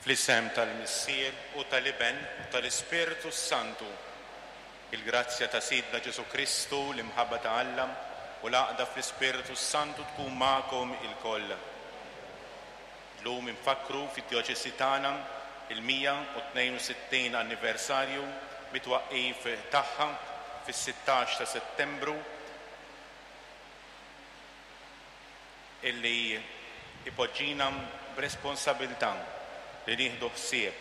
Fl-isem tal-Missier u tal-Iben u tal-Ispirtu s-Santu. Il-grazzja ta' Sidna Ġesù Kristu, l-imħabba ta' Alla, u l-għaqda fl-Ispirtu s-Santu tkun magħkom ilkoll. Llum infakkru fid-djoċesi tagħna il-162 anniversarju mit-twaqqif tagħha fis-16 ta' Settembru illi jpoġġina b'responsabilità li nieħdu ħsieb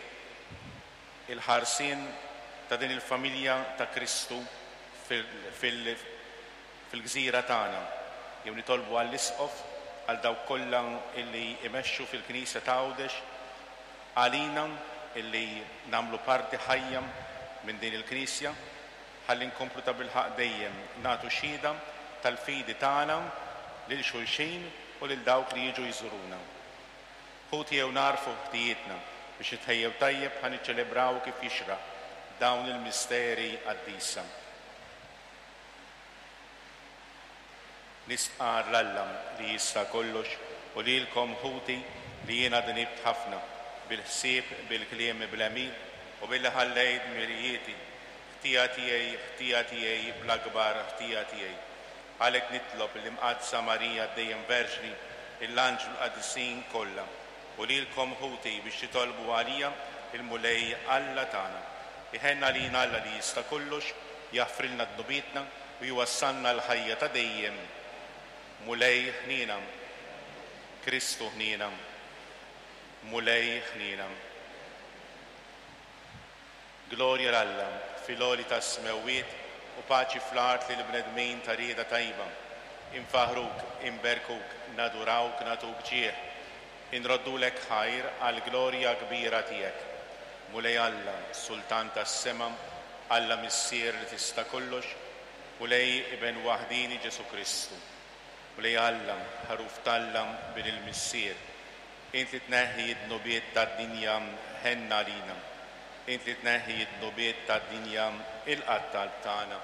il-ħarsien ta' din il-familja ta' Kristu fil-gżira tagħna. Jew nitolbu għall-Isqof, għal dawk kollha illi jmexxu fil-Knisja ta' Għawdex, għalina illi nagħmlu parti ħajja minn din il-Knisja, Ħalli nkomplu tabilħaqq dejjem nagħtu xhieda tal-fidi tagħna lil xulxin u lil dawk li jiġu jżuruna. Ħuti jew nagħrfu ħtijietna biex nitħejjew tajjeb ħa niċċelebraw kif jixraq dawn il-misteri qaddisa. Nistqarr 'l Alla li jista' kollox u lilkom, ħuti, li jiena dnibt ħafna, bil-ħsieb, bil-kliem, bl-għemil, u billi ħallejt dmirijieti. Ħtija tiegħi, ħtija tiegħi, bl-akbar ħtija tiegħi. Għalhekk nitlob lill-Imqaddsa Marija dejjem Verġni, lill-anġli u l-qaddisin kollha, u lilkom, ħuti, biex titolbu għalija l-Mulej Alla tagħna. Iħenn għalina Alla li jista' kollox, jaħfrilna dnubietna, u jwassalna għall-ħajja ta' dejjem. Mulej ħniena. Kristu ħniena. Mulej ħniena. Glorja 'l Alla fil-għoli tas-smewwiet u paċi fl-art lill-bnedmin ta' rieda tajba. Infaħħruk, inberkuk, nadurawk, nagħtuk ġieħ. Inroddulek ħajr għall-glorja kbira tiegħek. Mulej Alla, Sultan tas-sema, Alla Missier li tista' kollox, Mulej Iben waħdieni Ġesù Kristu. Mulej Alla, Ħaruf t'Alla, Bin il-Missier, int li tneħħi d-dnubiet tad-dinja, ħenn għalina. Int li tneħħi d-dnubiet tad-dinja, ilqa' t-talb tagħna.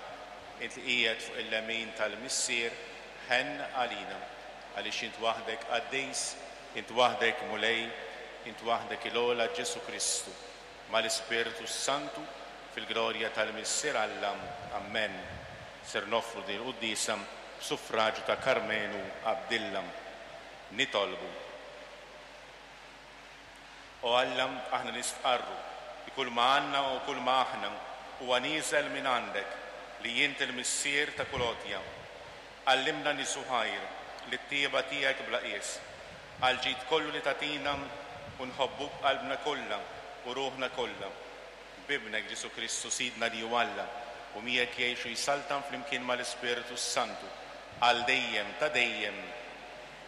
Int li qiegħed fuq il-lemin tal-Missier, ħenn għalina. Għaliex int waħdek qaddis, int waħdek Mulej, int waħdek il-ogħla Ġesù Kristu, mal-Ispirtu s-Santu, fil-glorja tal-Missier Alla. Ammen. Ser noffru din il-quddiesa b'suffraġju ta' Karmenu Abdilla. Nitolbu. O Alla, aħna nistqarru li kull ma għandna u kull ma aħna huwa nieżel minn għandek, li int il-Missier ta' kull għotja. Għallimna nieżu ħajr lit-tjieba tiegħek bla qies, għall-ġid kollu li tagħtina u nħobbuk b'qalbna kollha u ruħna kollha. B'Ibnek Ġesù Kristu Sidna li hu Alla u miegħek jgħix u jsaltan flimkien mal-Ispirtu s-Santu, għal dejjem ta' dejjem.